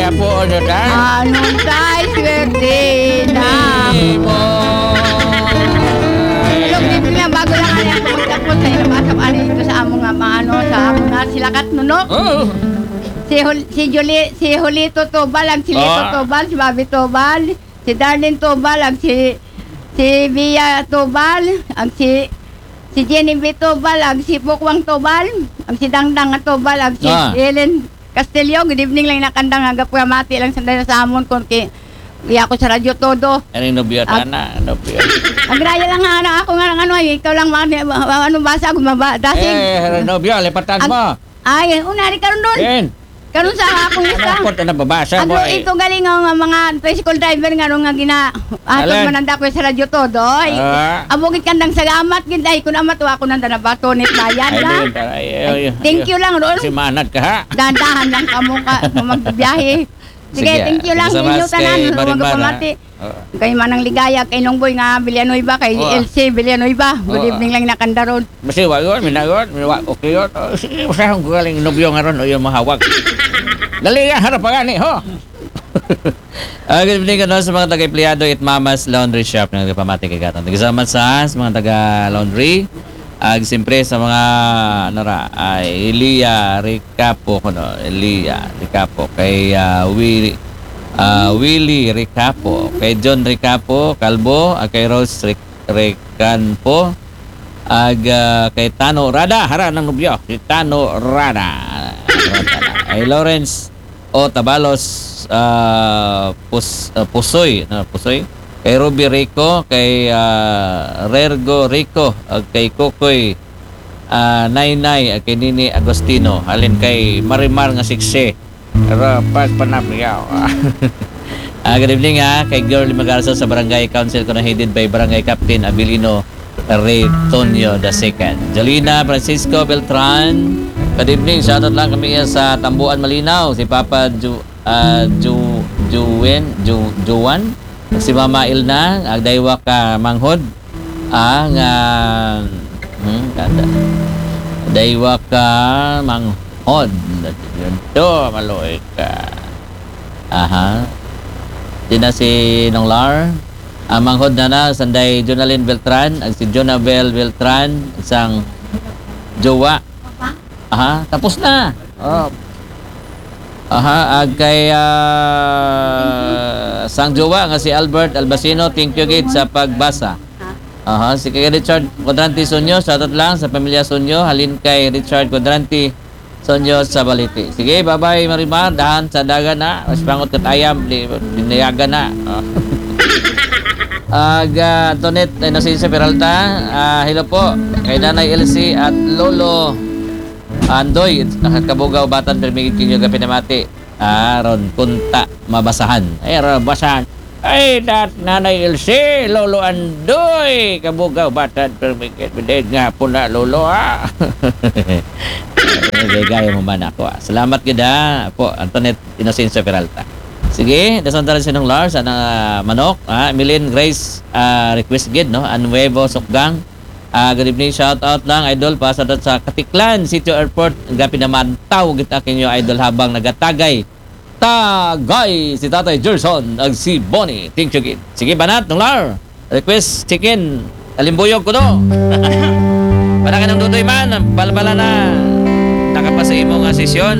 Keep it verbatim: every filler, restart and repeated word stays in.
Apo, ano ta? Ano ta, swerte na. Imo. Hello, good evening lang. Bago lang, ano, ako magtapos sa ilang asap, ano, ito sa amo nga, mga, ano, sa amo nga, sila Kat, no, no? Oo. Si Jul-, si Juli-, si Julito Tobal, ang si Lito Ah. Tobal, si Bobby Tobal, si Darlene Tobal, ang si, si Bia Tobal, ang si, si Jenny B Tobal, ang si Pukwang Tobal, ang si Dangdang Tobal, ang si Ah. Ellen Castillo. Good evening lang, nakandang, nga pamati lang sa, sa amon, kung ki-, iya ko sa Radyo Todo. Ano yung nobyo, Ag- tana? Nobyo. Agraya lang nga, ano, ako nga lang, ano, ay, ikaw lang, mga, ano, basa, gumaba, dasig. Eh, nobyo, lipatan Ag- mo. Ay, una, di karon doon. Ken. Karon sa akong Ano lista. po ito nababasa Ano mo, eh? ito galing ang mga tricycle driver nga, ano, nga gina-, atong Alan. mananda ko sa Radyo Todo, ay. Ah. Amo gid kandang salamat gid, ay, kun amat, wa ko nanda nabato ni bayan Ay, na. di, ay, ay, Ay, ay, thank ay. you lang, Ron. Si manad ka, ha? Dahan-dahan lang kamo ka, kung magbiyahe. Sige, Sige, thank you lang, thank you so inyo much tanan, kay mga Marimar, ha? kapamati. Oo. Kay Manang Ligaya, kay Nongboy nga Villanueva, kay Oo. L C Villanueva. Good Oo. evening lang, nakanda ron. Masiwa yun, minayon, minawa, okay yun. Oh, sige, usahon ko galing nobyo nga ron, o yung mahawag. Dali yan, harap pa gani, ho? Ah, good evening, ano, sa mga taga-empleyado at Mama's Laundry Shop nga nagpamati kay Gatang. Thank you so much sa, sa mga taga-laundry. Ag siyempre sa mga, ano ra, ay, Elia Ricapo, kuno, Elia Ricapo, kay, ah, Willie, ah, Willie Ricapo, kay John Ricapo, Calvo, ah, kay Rose Ric-, Ricanpo, ag, ah, kay Tano Rada, hara ng nobyo, si Tano Rada. Ay, Lawrence O Tabalos, ah, Pus-, ah, Pusoy, no, Pusoy. Kay Ruby Rico, kay, ah, Rergo Rico, ag kay Kokoy, ah, Naynay, ag kay Nini Agostino. Halin kay Marimar nga siksi. Pero pagpanapyaw. Ah, good evening, ha, kay Girl Magarza sa Barangay Council ko na headed by Barangay Captain Abilino Rey Tonyo the second. Jolina Francisco Beltran, good evening. Shoutout lang kami sa Tambuan Malinaw. Si Papa Ju-, ah, Ju-, Juen, Ju-, Juan, si Mama Ilna, agdaywa ka manghod. Ah, nga, hmm, kada. Daywa ka manghod. Yun to, maluoy ka. Aha. Di na si Nong Lar. Ang manghod na na, sanday Jonalyn Beltran, ag si Jonabel Beltran, isang jowa. Aha, tapos na. Oh. Aha, ag kay, ah, sang jowa nga si Albert Albacino, thank you gid sa pagbasa. Aha, si kay Richard Quadrante Sunyo, shoutout lang sa pamilya Sunyo, halin kay Richard Quadrante Sonyo sa Baliti. Sige, bye-bye, Marimar. Dahan sa dagan na. Mas pangot kat ayam, di, dinayagan na. Oh. Ag, ah, Antoinette Inocencio Peralta, ah, hello po. Kay Nanay Elsie at Lolo Andoy, Kabugaw, Batan, permi gid kinyo gapinamati. Ah, ron, kunta, mabasahan. Ay, ron, basahan. Ay, dat, Nanay Ilse, Lolo Andoy, Kabugaw, Batad, Permigit, Bidid nga po na, Lolo, ha? Gaya mo man ako, ah. Salamat gid, ha, po, Antoinette Inocencio Peralta. Sige, dason tayo sinong Lars, anang, ah, manok, ha? Milin Grace, ah, request gid, no? An Nuevo Sukgang. Ah, good evening, shout out lang, idol, pa sa, sa Katiklan, Sitio Airport, gapin naman, tawag kita kinyo, idol, habang nagatagay. Tagay si Tatay Gerson ag si Bonnie. Thank you, gid. Sige, banat, Nunglar. Request chicken. Alimbuyog ko, no? Para ka ng dudoy man, balbala na. Nakapasa imo nga sesyon.